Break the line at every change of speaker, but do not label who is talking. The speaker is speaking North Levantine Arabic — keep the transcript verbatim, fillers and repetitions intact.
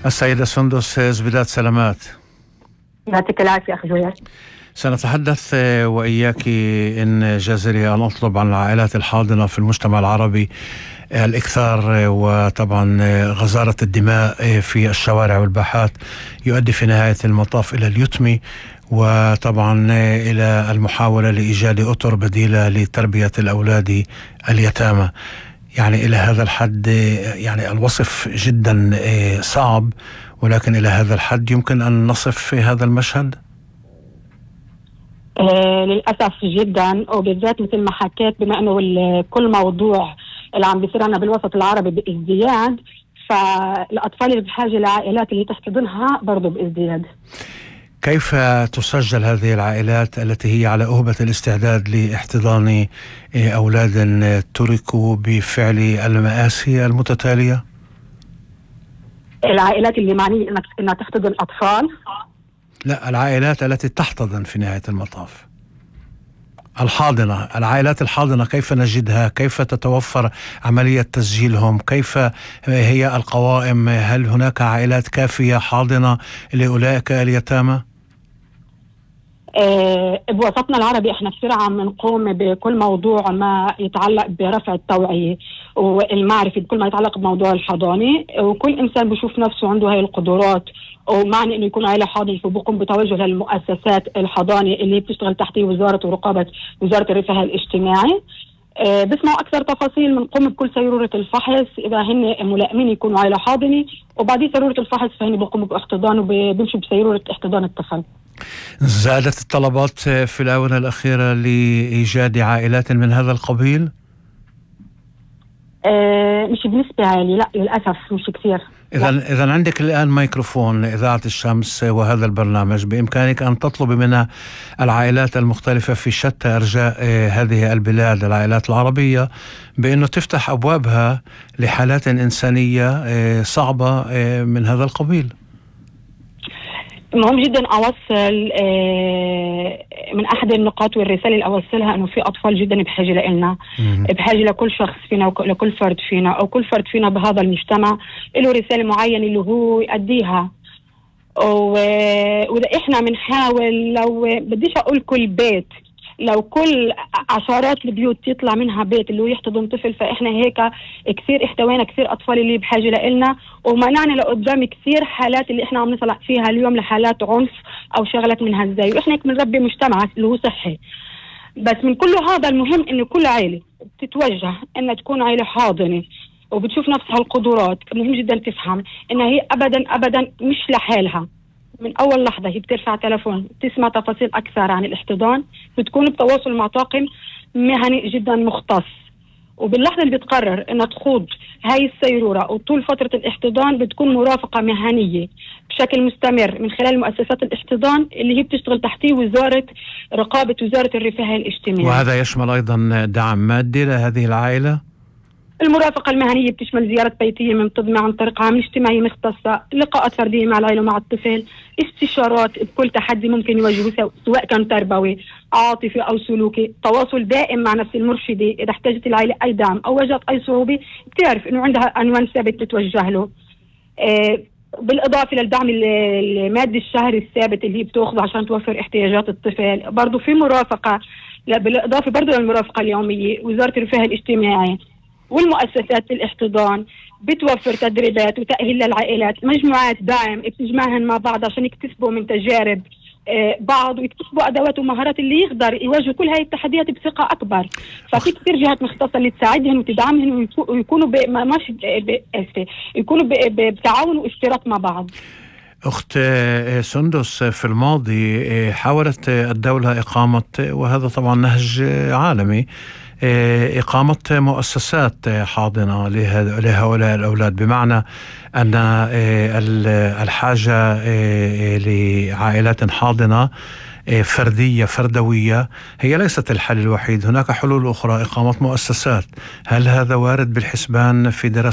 السيدة سندس زبيدات، سلامات.
يعطيك العافية أخي جويل.
سنتحدث وإياك إن جاز لي أن أطلب عن العائلات الحاضنة في المجتمع العربي الإكثار، وطبعا غزارة الدماء في الشوارع والباحات يؤدي في نهاية المطاف إلى اليتم، وطبعا إلى المحاولة لإيجاد أطر بديلة لتربية الأولاد اليتامى. يعني إلى هذا الحد يعني الوصف جدا صعب، ولكن إلى هذا الحد يمكن أن نصف في هذا المشهد.
آه للأسف جدا، وبالذات مثل ما حكيت بما أنه كل موضوع اللي عم بيصير عنا بالوسط العربي بازدياد، فالأطفال اللي بحاجة لعائلات اللي تحتضنها برضو بازدياد.
كيف تسجل هذه العائلات التي هي على أهبة الاستعداد لاحتضان أولاد تركوا بفعل المآسي المتتالية؟
العائلات اللي معنية أنها تحتضن أطفال؟
لا، العائلات التي تحتضن في نهاية المطاف، الحاضنة، العائلات الحاضنة كيف نجدها؟ كيف تتوفر عملية تسجيلهم؟ كيف هي القوائم؟ هل هناك عائلات كافية حاضنة لأولئك اليتامى؟
أه بوسطنا العربي احنا كثير عم نقوم بكل موضوع ما يتعلق برفع التوعية والمعرفة بكل ما يتعلق بموضوع الحضانة، وكل إنسان بيشوف نفسه عنده هاي القدرات ومعني إنه يكون عائلة حاضنة، فبقوم بتوجه للمؤسسات الحضانة اللي بتشتغل تحت وزارة ورقابة وزارة الرفاه الاجتماعي. أه بسمعوا أكثر تفاصيل بنقوم بكل سيرورة الفحص إذا هن ملائمين يكونوا عائلة حاضنة، وبعدين سيرورة الفحص فهن بقوموا باحتضان وبيمشوا بسيرورة احتضان الطفل.
زادت الطلبات في الآونة الأخيرة لإيجاد عائلات من هذا القبيل؟
أه مش بنسبة عالية، لا للأسف مش كثير.
إذا إذا عندك الآن ميكروفون إذاعة الشمس وهذا البرنامج، بإمكانك أن تطلب من العائلات المختلفة في شتى أرجاء هذه البلاد، العائلات العربية، بأنه تفتح أبوابها لحالات إنسانية صعبة من هذا القبيل.
مهم جدا أوصل من أحد النقاط والرسالة اللي أوصلها أنه في أطفال جدا بحاجة لنا، بحاجة لكل شخص فينا ولكل فرد فينا أو كل فرد فينا بهذا المجتمع له رسالة معينة اللي هو يؤديها. وإذا إحنا بنحاول، لو بديش أقول كل بيت، لو كل عشرات البيوت يطلع منها بيت اللي هو يحتضن طفل، فإحنا هيك كثير احتوينا كثير أطفال اللي بحاجة لإلنا، ومنعنا لقدام كثير حالات اللي إحنا عم نطلع فيها اليوم لحالات عنف أو شغلات من هالزي، وإحنا هيك بنربي مجتمع اللي هو صحي. بس من كل هذا المهم إنه كل عائلة تتوجه إنها تكون عائلة حاضنة وبتشوف نفسها القدرات. مهم جدا تفهم إنها هي أبدا أبدا مش لحالها. من أول لحظة هي بترفع تلفون تسمع تفاصيل أكثر عن الاحتضان، بتكون بتواصل مع طاقم مهني جدا مختص، وباللحظة اللي بتقرر إنها تخوض هاي السيرورة وطول فترة الاحتضان بتكون مرافقة مهنية بشكل مستمر من خلال مؤسسات الاحتضان اللي هي بتشتغل تحتيه وزارة رقابة وزارة الرفاه الاجتماعي.
وهذا يشمل أيضا دعم مادي لهذه العائلة؟
المرافقة المهنية بتشمل زيارة بيتية منتظمة عن طريق عامل اجتماعي مختصة، لقاءات فردية مع العائلة ومع الطفل، استشارات بكل تحدي ممكن يواجهه سواء كان تربوي عاطفي أو سلوكي، تواصل دائم مع نفس المرشدة إذا احتاجت العائلة أي دعم أو واجهت أي صعوبة بتعرف إنه عندها عنوان ثابت بتوجه له. آه بالإضافة للدعم المادي الشهري الثابت اللي بتأخذه عشان توفر احتياجات الطفل، برضو في مرافقة، بالإضافة برضو للمرافقة اليومية وزارة الرفاه الاجتماعي والمؤسسات الاحتضان بتوفر تدريبات وتأهيل للعائلات، مجموعات دعم بتجمعهن مع بعض عشان يكتسبوا من تجارب بعض ويكتسبوا أدوات ومهارات اللي يقدر يواجهوا كل هاي التحديات بثقة أكبر. ففي كثير جهات مختصة اللي تساعدهن وتدعمهن ويكونوا ماشي يكونوا بتعاون واشتراك مع بعض.
أخت سندس، في الماضي حاولت الدولة إقامة، وهذا طبعا نهج عالمي، إقامة مؤسسات حاضنة لهؤلاء الأولاد، بمعنى أن الحاجة لعائلات حاضنة فردية فردوية هي ليست الحل الوحيد، هناك حلول أخرى، إقامة مؤسسات. هل هذا وارد بالحسبان في دراسة